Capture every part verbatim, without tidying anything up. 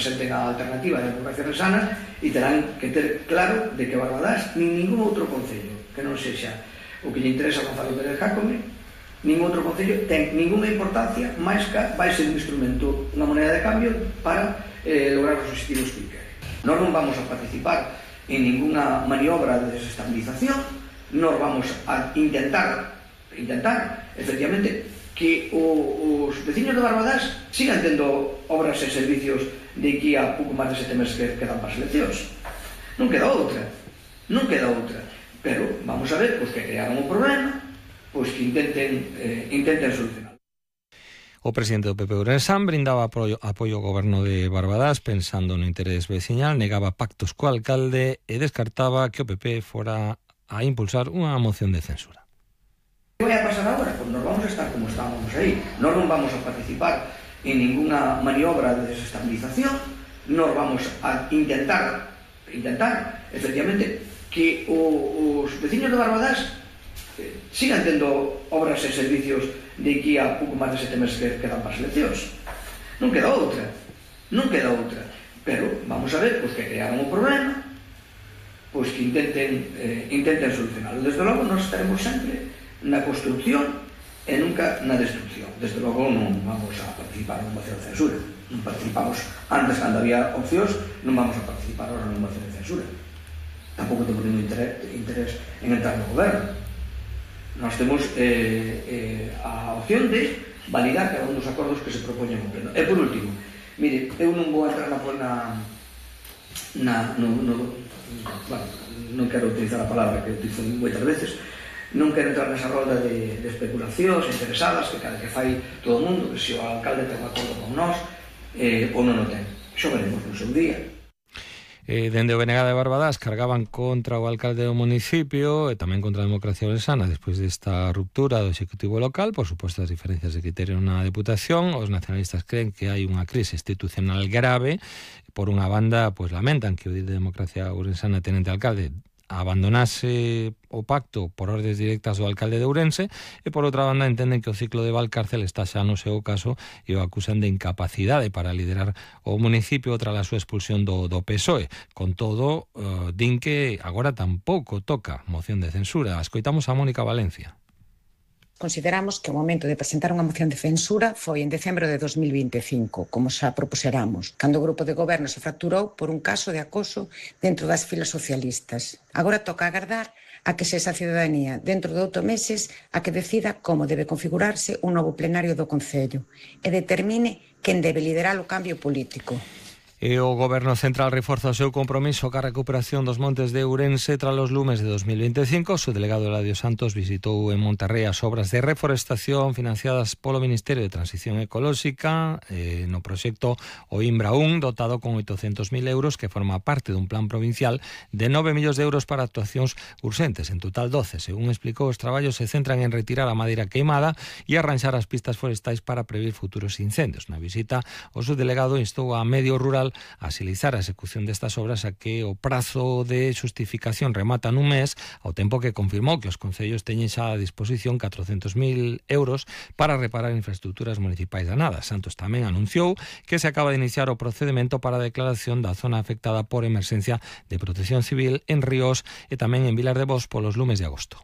presenten a alternativa de democracia resana e terán que ter claro de que Barbadás nin ningún outro concello que non sexa o que lle interesa a Gonzalo Pérez Jácome, ningún outro concello ten ninguna importancia máis que vai ser un instrumento, unha moneda de cambio para eh, lograr os objetivos que quere. Nós non vamos a participar en ninguna maniobra de desestabilización, nós vamos a intentar intentar, efectivamente, que o, os veciños de Barbadás sigan tendo obras e servicios de aquí a pouco máis de sete meses que quedan para as eleccións. Non queda outra, non queda outra. Pero vamos a ver, pois que crearon un problema, pois que intenten, eh, intenten solucionar. O presidente do P P Ourensán brindaba apoio, apoio ao goberno de Barbadás pensando no interés veciñal, negaba pactos co alcalde e descartaba que o P P fora a impulsar unha moción de censura. ¿Qué vai a pasar agora? Pues nos vamos a estar como estábamos aí. Nós non vamos a participar en ninguna maniobra de desestabilización, nós vamos a intentar, intentar, efectivamente, que o, os veciños de Barbadás eh, sigan tendo obras e servicios de aquí a pouco máis de sete meses que quedan para as eleccións. Non queda outra, non queda outra. Pero vamos a ver, pois que crearon un problema, pois que intenten, eh, intenten solucionarlo. Desde logo, nós estaremos sempre na construcción e nunca na destrucción. Desde logo non vamos a participar en moción de censura. Non participamos antes cando había opcións, non vamos a participar ahora en moción de censura. Tampouco temos ningún interés, interés en entrar no goberno. Nós temos eh, eh, a opción de validar cada un dos acordos que se propoñen no pleno. E por último, mire, eu non vou entrar na, na no, no, bueno, non quero utilizar a palabra que utilizo moitas veces. Non quero entrar nesa rolda de, de especulacións interesadas que cada que fai todo o mundo, que se o alcalde ten un acordo con nós eh, ou non o ten. Xo veremos no seu día. Eh, dende o B N G de Barbadás cargaban contra o alcalde do municipio e tamén contra a democracia ourensana despois desta ruptura do executivo local, por suposto as diferencias de criterio na Deputación. Os nacionalistas creen que hai unha crise institucional grave. Por unha banda, pois lamentan que o de democracia ourensana tenente alcalde abandonase o pacto por ordes directas do alcalde de Ourense e por outra banda entenden que o ciclo de Valcárcel está xa no seu caso e o acusan de incapacidade para liderar o municipio tras a súa expulsión do, do P S O E. Con todo, uh, din que agora tampouco toca moción de censura. Escoitamos a Mónica Valencia. Consideramos que o momento de presentar unha moción de censura foi en decembro de dos mil vinte e cinco, como xa propuseramos, cando o grupo de goberno se fracturou por un caso de acoso dentro das filas socialistas. Agora toca agardar a que sexa a cidadanía, dentro de oito meses, a que decida como debe configurarse un novo plenario do Concello e determine quen debe liderar o cambio político. E o Goberno Central reforza o seu compromiso ca recuperación dos montes de Ourense tras os lumes de dos mil vinte e cinco. O seu delegado Eladio Santos visitou en Monterrey as obras de reforestación financiadas polo Ministerio de Transición Ecolóxica eh, no proxecto O Imbra un, dotado con oitocentos mil euros, que forma parte dun plan provincial de nove millóns de euros para actuacións urxentes, en total doce. Según explicou, os traballos se centran en retirar a madeira queimada e arranxar as pistas forestais para prever futuros incendios. Na visita, o subdelegado instou a medio rural a axilizar a execución destas obras a que o prazo de xustificación remata nun mes, ao tempo que confirmou que os concellos teñen xa a disposición catrocentos mil euros para reparar infraestructuras municipais danadas. Santos tamén anunciou que se acaba de iniciar o procedimento para a declaración da zona afectada por emerxencia de protección civil en Ríos e tamén en Vilar de Bos polos lumes de agosto.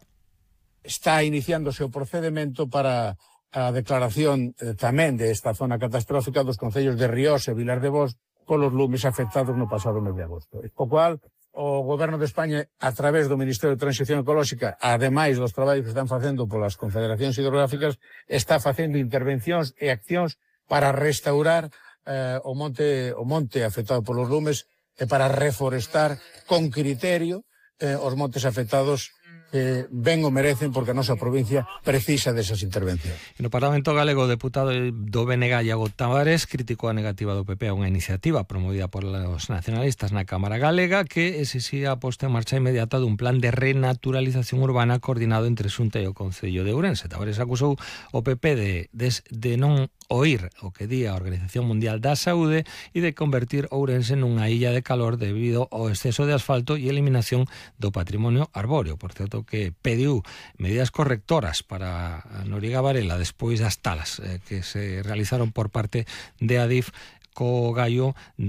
Está iniciándose o procedimento para a declaración eh, tamén desta zona catastrófica dos concellos de Ríos e Vilar de Bos polos lumes afectados no pasado mes de agosto. O cual, o Goberno de España, a través do Ministerio de Transición Ecolóxica, ademais dos traballos que están facendo polas confederacións hidrográficas, está facendo intervencións e accións para restaurar eh, o monte o monte afectado polos lumes e para reforestar con criterio eh, os montes afectados que ben o merecen, porque a nosa provincia precisa desas intervencións. No Parlamento Galego, o deputado do B N G, Iago Tavares, criticou a negativa do P P a unha iniciativa promovida por os nacionalistas na Cámara Galega que exixía a posta en marcha inmediata dun plan de renaturalización urbana coordinado entre Xunta e o Concello de Ourense. Tavares acusou o P P de, de, de non oír o que di a Organización Mundial da Saúde e de convertir Ourense nunha illa de calor debido ao exceso de asfalto e eliminación do patrimonio arbóreo. Por certo, que pediu medidas correctoras para Noriega Varela despois das talas eh, que se realizaron por parte de Adif co gallo da